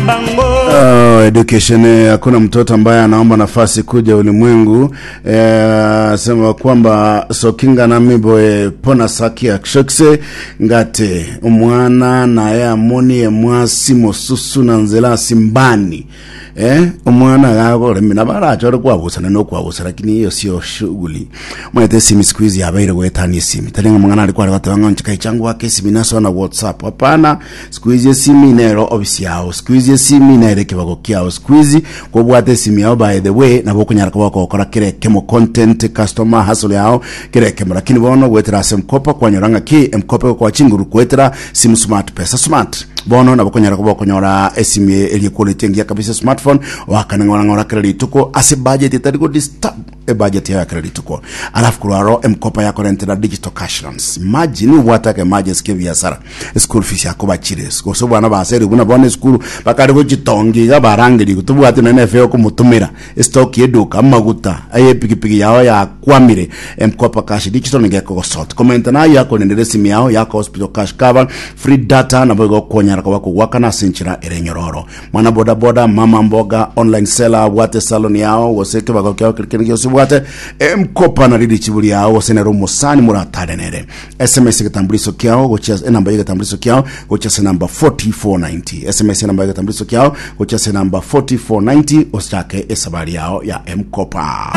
Oh, education eh, hakuna mtoto ambaye anaomba nafasi kuja ulimwengu eh, sema kwamba sokinga na miboe pona sakia kshokse ngate omwana naye amoni emwasi mosusu na nzela simbani eh, omwana gagoremi na barachore kwabusana nokwabusa lakini hiyo sio shughuli Omanyete esimi siku hizi yabeire goetania esimi tari ng'a omong'ana aria kware goteba ng'a inche kaicha ngwake esimi nasoa na whatsapp hapana siku hizi esimi nero ofisi yao siku hizi esimi nere ekebago kiao siku hizi kobwate esimi yao by the way nabo okonyara koba okogokora kera ekemo content customer hustle yao kera ekemo lakini bono goetera ase mkopa kwanyora ng'a ki mkopa egokoa chinguru goetera simu smart pesa smart bono nabo okonyara koba okonyora esimi eria equality engiya kabisa smartphone oakane ng'ora ng'ora kera rituko ase budget etari go disturb ebudget yaye kera rituko alafu korwa aro emkopa yakorentera digital cash loans imagine obwate aka emergency ke biasara school fees yakobachire gose obwana baserigwe buna bono esukuru bakare gochitonga iga barangerigwe tobwati nonye na efare yokomotomera estock ya eduka amaguta aye epikipiki yao yakwamire emkopa cash digital nigo ekogosort komenta nayo yakorendera esimi yao yako hospital cash cover free data nabo igo okonyara koba kogwakana ase enchera ere enyororo Mwana boda boda, mama mboga, online seller, abwate salon yao gose ekebago kiao keri kende gionsi obwate, emkopa nari richibu riao gose nere omosani moratare nere. SMS egetambuliso kiao gochia ase enamba y'egetambuliso kiao gochia ase namba 4490. SMS enamba y'egetambuliso kiao gochia ase namba 4490 ochake esabari yao ya M-Kopa.